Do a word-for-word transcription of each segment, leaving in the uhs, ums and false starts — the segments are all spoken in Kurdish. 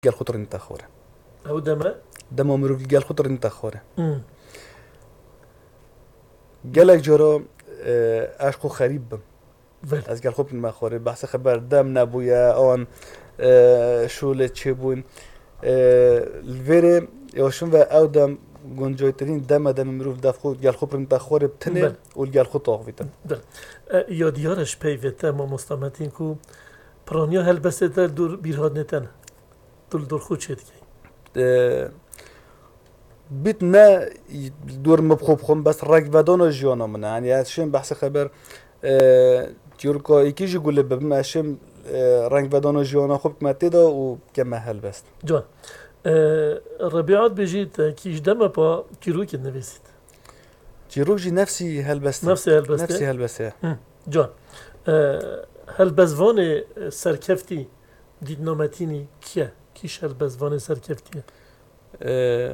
gel xwe tirînîte xwarê. Ew deme? Dema mirov li gel xwe tirînîte xwarê. Hmm. Gelek cara, e, ez xwe xerîb bim. Vel. Ez gel xwe tirînîme xwarê. Behsê xeber dem nebûye, an, e, şûlê çêbûn. E, li vêrê ya şin ve ew dem guncaytirîn deme demê mirov def xwe gel xwe tirînîte xwarê bi tinê Vel. û li gel xwe taxivîte. Vel. E, ya diyar e ji peyvê te mamosta Metîn ku piraniya helbestê te li dor bîrhatnê te ne. Tu li dor xwe çê dikey? E, bît ne dor min bi xwe bixwim, bes rengvedana jiyana min e. Yanî ez şêm behsê xeber, e, çîroka êkî jî gule bibim, ez şêm, e, rengvedana jiyana xwe bikime tê de û bikeme helbest. Can. E, Rebîa dibêjît, e, kî ji deme pa çîrokê dinivîsît? Çîrok jî nefsî helbest e. Nefsê helbestê? Nefsî helbestê ye. Hı, can. E, helbestvanê, e, serkeftî Dîtna Metînî kî ye? Kî ji helbestvanê serkeftî ye? Ee,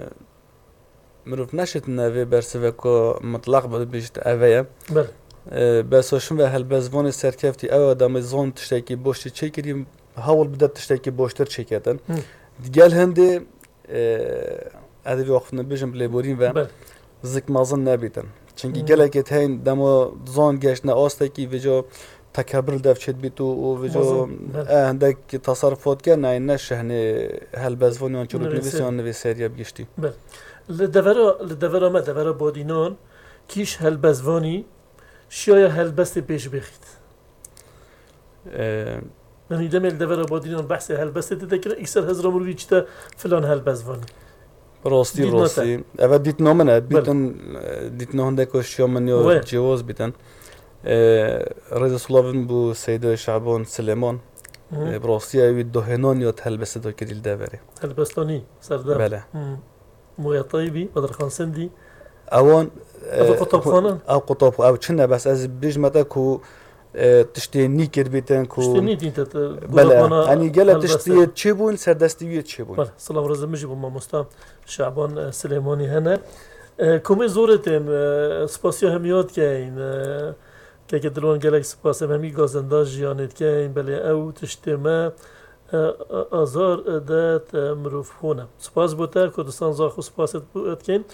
mirov neşitine vê bersiveka mitlaq bibêjit eve ye. Belê. Ee, bes şin ve helbestvanê serkeftî ew adamê zon tiştekî boş çêkirî, hewl bide tiştekî boştir çêketin. Hı. Digel hindê, ee, ez ê vê axiftinê bêjim bi lêborîn ve Belê. zik mezin nebîtin. Çimkî Hmm. gelekê teyn dema zon geştine astekî vêca tekebir li dev çêdibît û, û vêca Mezin, belê. e, hindek tasarrufat ke nayê ne şehnê helbestvan yan çîroknivîs Nivîsê. yan nivîseriya bi giştî. Belê. Li devera, li devera me, devera Badînan, kî ji helbestvanî şiyaya helbestê pêş bêxît? Ee, Yanî demê li devera Badînan behsê helbestê tê de kirin, îkser hezra mirov î çite filan helbestvanî. Rastî, Dîtna te. rastî. Eve dîtna min e. Belê. Bîtin, e, dîtna hindek şiya min ya Wê. cêwaz bîtin. E, rêzê silavin bû Seyda Şaban Silêman. Hı. E, bi rastî ew wî dohênan ya helbestê de kirî li deverê. Helbestanî, serdem. Belê. Hı. Moya Taybî, Bedirxan Sendî. Ewan, Ev e, qutabxanan? ew qutab-, ew çi ne, bes ez bêjime te ku, e, tiştê nî kirbîtin ku Tiştê nî dîn te, te, Belê, gola bana yanî gelek helbeste. tiştê çêbûn, serdestî wî çêbûn. Belê, silav rêzê min jî bo mamosta Şaban, e, Silêmanî hene. E, komê zorê tên, e, spasiya hemiya dikeyn, e, keke Dilwan gelek spas, em hemî gazenda jiyanê dikeyn, belê ew tiştê me, e, e, azar, e, de, e, mirov hone. Spas bo te, Kurdistan zax û spasê bo, e, dikeyn.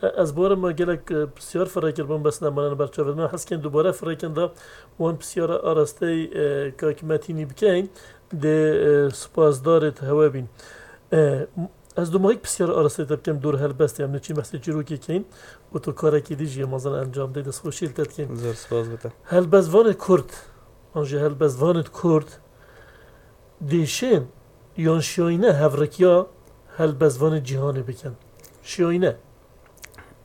E, ez barim me gelek, e, pisyar firê kirbûn, bes nemanin ber çavê me. Hez kên dubare firêkin de wan pisyara arastey, e, Kak Metînî bikeyn, dê, e, spasdarê te hewe bîn. E, m-, ez dumahîk pisyara arastey te bikim dor helbestê, em neçîn behsê çîrokê keyn û tu karekî dî jî yê mezin encam dê, destxweşî li te dikin. Zor spas bo te. Helbestvanê Kurd, an jî helbestvanê Kurd, dêşên yan şiyayîne hevrikiya helbestvanê cîhanê bikin? Şiyayîne.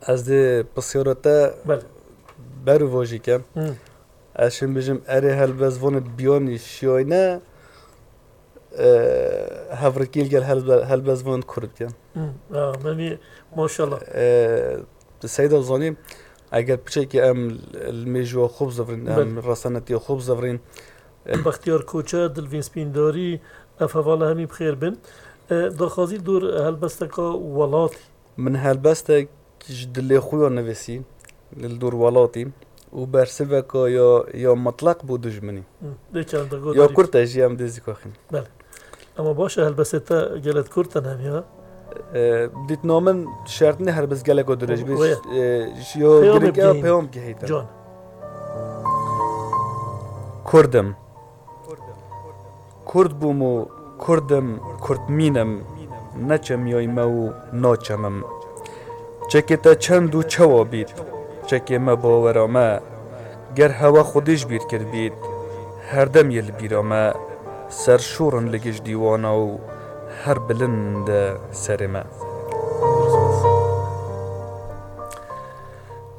Ez dê pisyara te Belê. ber û vajî kem. Hı. Ez şim bijim erê helbestvanê biyanî şiyayîne, e, hevrikî li gel helbe-, helbestvanê Kurd bikin. Hı. Ha, memî, maşallah. E, Seyda zanî, eger piçekî em li mêjûya xwe bizivirîn, em Belê. resenetiya xwe bizivirîn, Bextiyar Koçer, Dilvîn Spîndarî, ev hevala hemî bi xêr bin. E, daxwazî li dor helbesteka welatî. Min helbestek ji dilê xwe ya nivîsî, li dor welatî û bersiveka ya, ya mitlaq bû dijminî. Hı, dê çend Ya godarî. Kurd e jî em dê zî kaxîn. Belê. Ama baş e, helbestê te gelek Kurd te nemiya. E, dîtna min şert ne helbest geleko dirêj bî, Wê. e, ji ya Peyamê girîng e bigihîn. peyam gihîtin. Can. Kurd im. Kurd bûm û Kurd im, Kurdmîn im, neçemiyayî me û naçemim. Çekê te çend û çawa bît, çekê me bawera me, ger hewe xwedî ji bîr kirbît, herdem yê li bîra me, ser şûr in li giş dîwana û her bilind e serê me.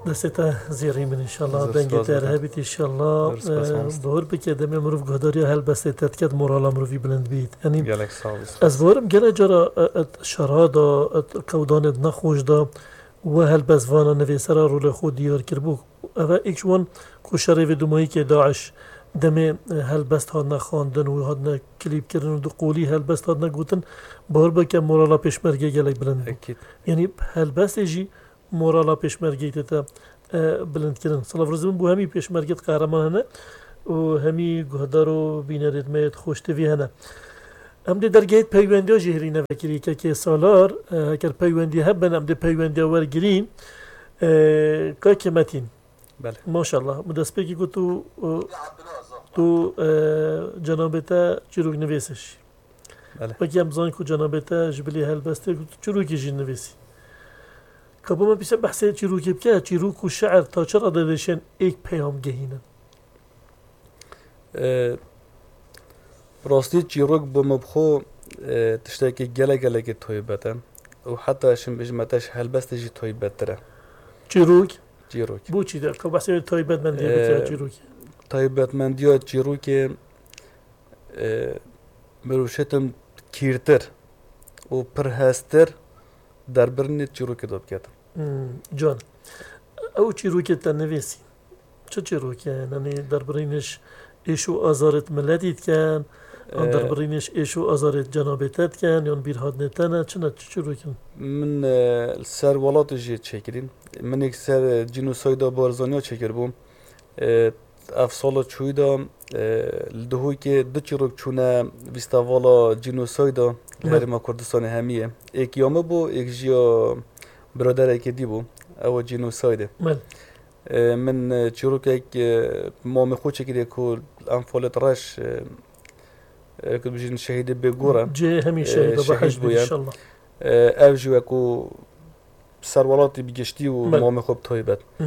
Destê te zêrîn bin inşallah. Zor Dengê spas te bike. hebît inşallah. Zor spas Ee, mamoste. Bawer bike demê mirov guhdariya helbestê te diket, morala mirovî bilind bît. Yanî Gelek sağ ol. ez bawerim gelek cara, e, e, şera da, e, kewdanê nexweş da we helbestvana nivîsera rolê xwe diyar kiribû. Ev e êk ji wan ku şerê vê dumahîkê DAIŞ demê, e, helbest hatine xwendin û hatine klîp kirin û di qolî helbest hatine gotin, bawer bike morala pêşmergê gelek bilind bû. Ekîd. Yanî helbestê jî morala pêşmergeyê tê te, e, bilindkirin. Silav rêzê min bo hemî pêşmergê qehreman hene û hemî guhdar û bînerêt me yê Xweş T V hene. Em dê dergehê peywendiya jî hêrî nevekirî kekê Salar, e, heker peywendî hebin, em dê peywendiya wergirîn. E, Kake Metîn. Belê. Maşallah. Min destpêkî got tu, e, tu, e, cenabê te çîrok nivîsiş. Belê. Wekî em zanin ku cenabê te ji bilî helbestê got tu çîrokê jî nivîsî. Ka bo me pîse behsê çîrokê bike, çîrok û şi'ir ta çi radê dişên êk peyam gehînin? E, rastî çîrok bo me bi xwe, e, tiştekî gelek gelekî taybet e. Û heta şim bêjim te ji helbestê jî taybettir e. Çîrok? Çîrok. Bo çi de? Ka behsê wê taybetmendiyê bike E, çîrokê. Taybetmendiya çîrokê, e, mirov şêtin kîrtir û pir heztir derbirînê çîrokê de biketin. Hmm, can. Ew çîrokê te nivîsî. Çi çîrokê ye? Yanî derbirîniş êş û azarêt miletî dikin, an Ee, derbirîniş êş û azarêt cenabê te dikin, yan bîrhatinê te ne, çi ne, çi çîrokin? Min, e, li ser welatê jî çêkirîn. Min êk ser, e, cînosayda Barzaniya çêkiribû. E, ev sala çûyî de, e, li Duhokê du çîrok çûne festîvala cînosayda li Belê. Herêma Kurdistanê hemiyê. Êk ya min bû, êk jî ya biraderekê dî bû. Ew cînosaydê. Belê. E, min, e, çîrokek, e, mamê xwe çêkiriye ku em Folet Reş, e, e, ku dibêjin şehîdê bêgor e. Cihê hemî E, şehîd be, şehîd behişt bû bî ya. Înşallah. E, ev jî wekû serwelatî bi giştî û Belê. Mamê xwe bi taybet. Hı.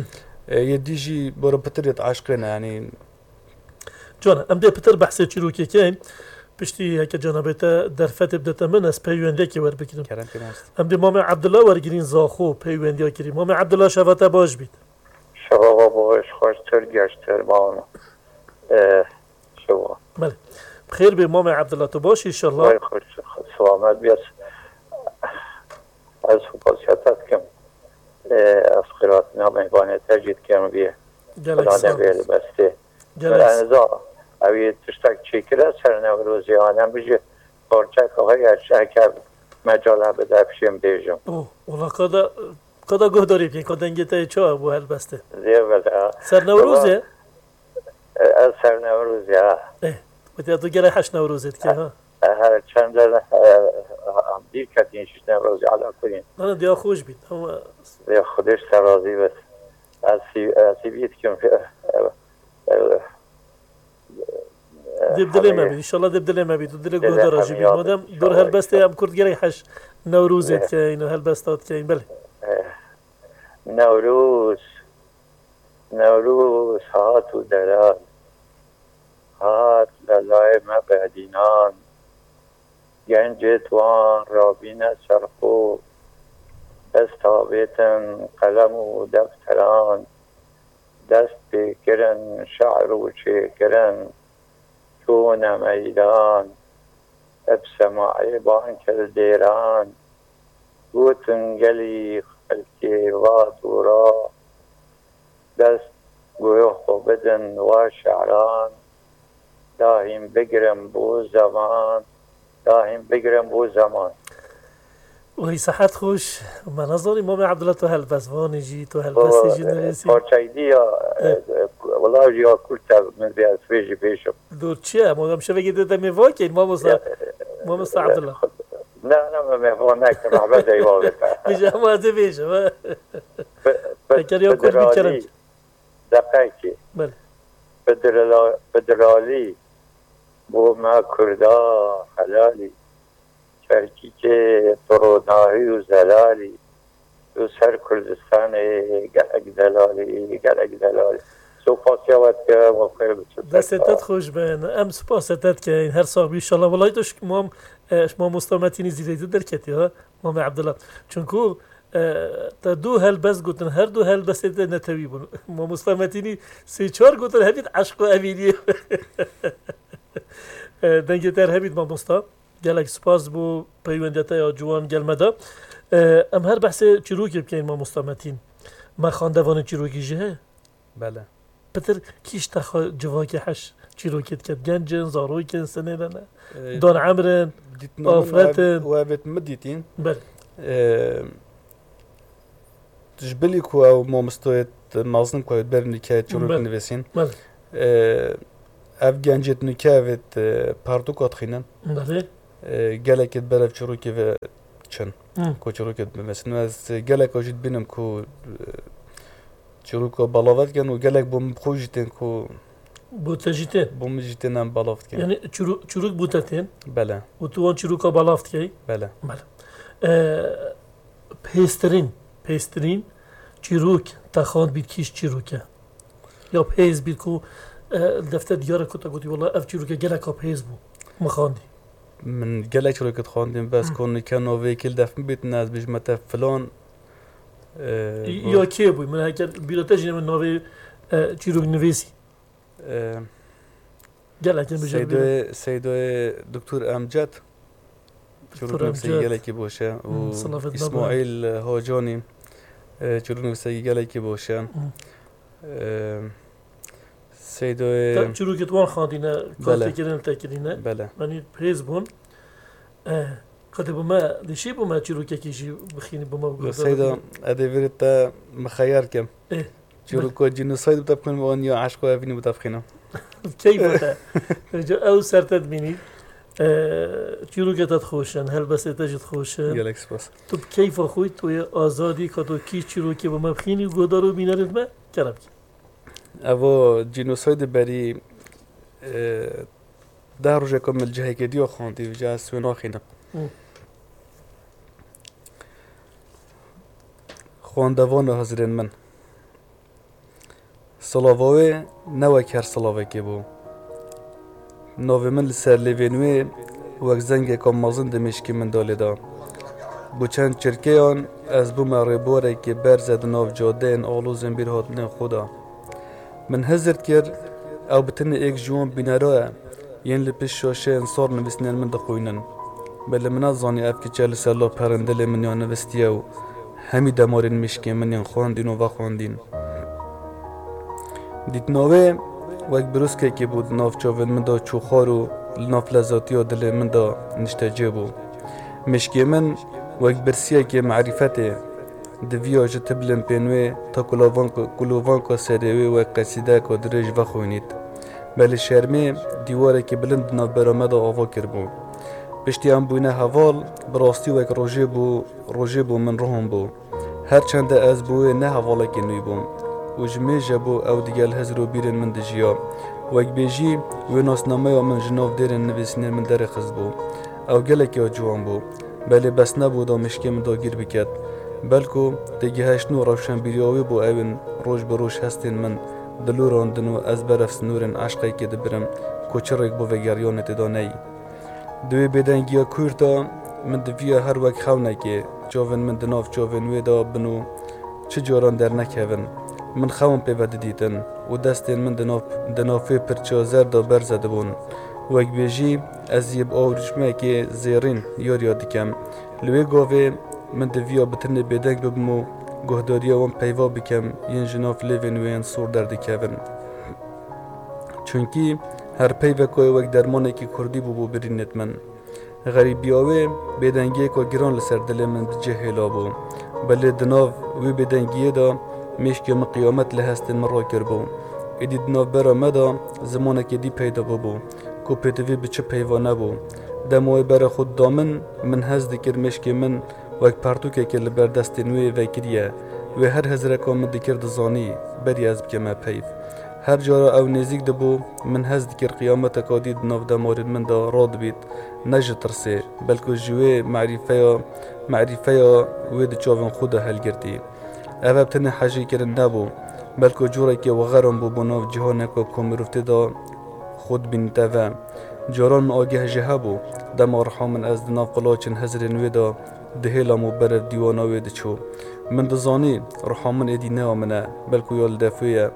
E, yê dî jî boro pitir yê eşqê ne, yanî. Can, em dê pitir behsê çîrokê keyn. Piştî heke cenabê te derfetê bidete min, ez peywendekê werbigirim. Kerem kê mamoste. Em dê Mamê Abdullah wergirîn Zaxo peywendiya kirî. Mamê Abdullah şeva te baş bît. Şeva we baş, xweştir, geştir, mama. E, şeva. Belê. Bi xêr bê Mamê Abdullah, tu baş înşallah. Vay xweş, selamet bî. Ez, ez supasiya te dikim. E, ez xêrhatina mêvanê te jî dikim vî. Gelek Xweda sağ ol. Nebê li bestê. Gelek Min eniza, ew yê tiştek çêkire ser Newrozê, an em bijî parçek heye, heke mecal hebe de pişên bêjim. Oh, wala qada, qada guhdarî bikin, ka dengê te yê çawa bû helbestê. Zê bela. Ser Newrozê? Ama, e, ez ser Newrozê, ha. Eh, wetiya tu gelek heş Newrozê dike, ha? E, her çende, e, bîr ketîn şiş Newrozê, ala kulîn. Ana, diya xweş bît, ama Zê Xwedê ji te razî bit. Ez sî-, ez sîvî dikim. E, e, Dê bi dilê me bî, înşallah dê bi dilê me bî. Tu dilê guhdara jî bî. Madem dor helbestê em kurd gelek heş Newrozê dikeyin û helbesta dikeyin. Belê. Eh, Newroz, Newroz hat û delal. Hat lelayê me bedînan. Gencêt wan rabîne ser xwe. Dest avêtin qelem û defteran. Dest pê kirin şe'r û çêkirin, çûne meydan, bi semaê bankil dêran, gotin gelî xelkê va dûra, dest goyo xwe bidin wa şe'ran, dahîn bigrin bo zeman, dahîn bigrin bo zeman. Wî sehet xweş. Me nezanî Mamê Abdullah tu helbestvanî jî, tu helbestê jî nivîsî. Parçayî dî ya, Eh. e, e, wila ya kurt e, min vê ez vê jî bêjim. Dur çi ye? Madem şevekê de demê vakên, mamosta, Ya, e, mamosta e, Abdullah. Ne, ne, me, me va nekir, rahmet eyvallah. Bêje, ama ez ê bêjim, ha. Bi-, bi-, Eker ya kurt bî kerem. Deqekê. Belê. Bidirala-, bidiralî, bo me kurda helalî. Kerkûkê tu ronahî û zelalî, tu ser Kurdistanê gelek delalî, gelek delalî. Supasiya we dikim, we xêr biçin. Destê te xweş bin. Em supasê te dikin. Her sax bî înşallah. Welay tu ji mam, e, ji mamosta Metînî zî lê tu derketî ha, Mamê Abdullah. Çunku, e, te du helbest gotin, her du helbestê te netewî bûn. Mamosta Metînî sê çar gotin, hevît eşq û evîniyê. E, dengê te her hebît mamosta. Gelek spas bo peywendiya te ya ciwan gel me de. E, em her behsê çîrokê bikeyn, mamosta Metîn. Me xandevanê çîrokî jî heye? Bele. Pitir kî ji te xwe civakê heş çîrokê diket? Genc in, zarok in, sinê de ne? E, Dan emr in, dîtina min afret in. Ev, ev êt min dîtîn. Bele. E, Ji bilî ku ew mamostoyê mezin ku ew berî nûke çîrok Belê. Nivîsîn. Belê. Ev gencêt nûke ev ê pertûka dixînin. Belê. E, gelekê di berev çîrokê ve çin. Hı. Ku çîrokê dimesin. Ez geleka jî dibînim ku, e, çîroka belav dikin û gelek bo min bi xwe jî tên ku Bo te jî tên? Bo min jî tên em belav dikin. Yani çîro-, çîrok bo te tên? Bele. Û tu wan çîroka belav dikey? Bele. Bele. E, pêztirîn, pêztirîn çîrok te xwend bît kîj çîrok e? Ya pêz bît ku, e, li defter diyar e ku te gotî, "Wela ev çîroke geleka pêz bû, min xwendî." Min gelek çîrokê dixwendin, bes Hı. ku nike navê yekê li def min bîtin, ez bêjime te filan, e, Ya kê bû? Min heke bîra te jî ne min navê, e, çîrok nivîsî. E, Gelek in bijêr Seydoyê, Seydoyê Doktor Emcet. Doktor Çîrok nivîsê Emcet. Gelekî boş e. Û Hmm, silavê te Îsmaîl Hocanî, e, çîrok nivîsê gelekî boş e. Hmm. E, Seydoyê Te çîrokê wan xwendîne, Bele. Kar te kirin, te kirîne. Bele. Yanî pêz bûn. E, qedê bi me, dişî bi me çîrokekî jî bixînî, bi me biguhdarî. Seyda, edê vêrê te mixeyar kim. E. Çîroka cînosayd bi te bixwînim, an ya eşqa evînî bi te bixwînim? Keyfa te. Ca ew ser te dimînî. E, çîrokê te dixweşin, helbestê te jî dixweşin. Gelek spas. Tu bi keyfa xwe, tu yê azadî, ka tu kî çîrokê bi me bixînî, guhdar û bînerên me kerem kî. Evo cînosaydê berî, e, deh rojeka min li cihekê diya xwendî, vêca ez wê naxînim. Hı. Xwendevana hizrên min. Silava wê ne wek her silavekê bû. Navê min li ser lêvên wê wek zengeka mezin di mêşkê min de lêda. Bo çend çirkeyan ez bûme rêborekê berze di nav cadeyên alozên bîrhatinên xwe de. Min hizir dikir, ew bi tenê êk ji wan bînera ye. Yên li pişt şaşeyên sar nivîsnên min dixwînin. Belê min nezanî ev kiçe li ser laperên dilê min ya nivistiye û hemî demarên mêşkên min yên xwendîn û vexwendîn. Dîtina wê wek birûskekê bû di nav çavên min de çûxar û li nav lezatiya dilê min de niştecê bû. Mêşkê min wek birsiyekê merîfetê. Di viya ji tiblên pên wê ta kulovanka, kulovanka serê wê wek qesîdeka dirêj vexwînît. Belê şermê dîwarekî bilind di navbera me de ava kiribû. Piştî em bûyne heval, bi rastî wek rojê bû, rojê bû min ruhim bû. Her çende ez bo wê ne hevalekî nû bûm û ji mêje bû ew digel hizr û bîrên min dijiya. Wek bêjî wê nasnameya min ji nav dêrên nivîsînên min derêxistbû. Ew gelekî ya ciwan bû. Belê bes nebû da mêşkê min dagîr biket. Belku têgihiştin û rewşenbîriya wê bû ewên roj bi roj hestên min dilorandin û ez berev sînorên eşqekê dibirim ku çi rêk bo vegeriyanê tê de neyî. Di wê bêdengiya kûr de min diviya her wek xewnekê çavên min di nav çavên wê de bin û çi caran dernekevin. Min xewn pê ve didîtin û destên min di nav, di nav wê pirça zer de berze dibûn. Wek bêjî ez yê bi awirûşmekê zêrîn yariya dikem. Li wê gavê min diviya bi tenê bêdeng bibim û guhdariya wan peyva bikem yên ji nav lêvên wê yên sor derdikevin. Çunkî her peyveka wê wek dermanekî kurdî bûbû birînêt min. Xerîbiya wê bêdengiyeka giran li ser dilê min di cih hêla bû. Belê di nav wê bêdengiyê de mêşkê min qiyamet li hestên min rakiribû. Êdî di navbera me de zimanekê dî peyda bûbû ku pêtivî bi çi peyva nebû. Dema wê berê xwe dida min, min hez dikir mêşkê min wek pertûkekê li ber destên wê vekiriye. Wê her hizreka min dikir dizanî, berî ez bikeme peyv. Her cara ew nêzîk dibû, min hez dikir qiyameteka dî di nav demarên min de radibît, ne ji tirsê, belku ji wê merîfeya, merîfeya wê di çavên xwe de helgirtî. Ev, ev tenê hejîkirin nebû, belku corekê wexeran bû bo nav cîhaneka ku mirov tê de xwe dibînîte ve. Caran min ageh jê hebû, dema riha min ez di nav qilaçên hizrên wê de dihêlam û berev dîwana wê diçû. Min dizanî riha min êdî ne ya min e, belku ya li def wê ye.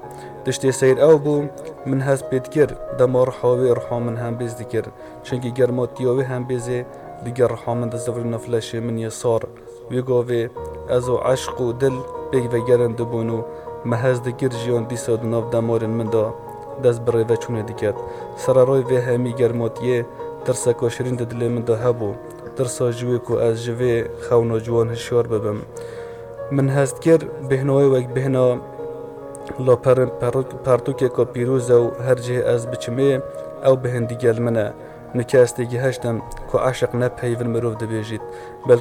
Tiştê seyr ew bû, min hest pê dikir, dema riha wê riha min hembêz dikir. Çunkî germatiya wê hembêzê digel riha min dizivirî nav leşê min yê sar. Wê gavê ez û eşq û dil pêk vegerandibûn û me hez dikir jiyan dîsa di nav demarên min de dest bi rêveçûnê diket. Sererayê vê hemî germatiyê tirseka şirîn di dilê min de hebû. Tirsa ji wê ku ez ji vê xewna ciwan hişyar bibim. Min hest kir, bêhna wê wek bêhna laperên pertûk-, pertûkeka pîroz e û her cihê ez biçimê, ew bêhn digel min e. Nike ez têgihiştim ku eşq ne peyvên mirov dibêjît, bel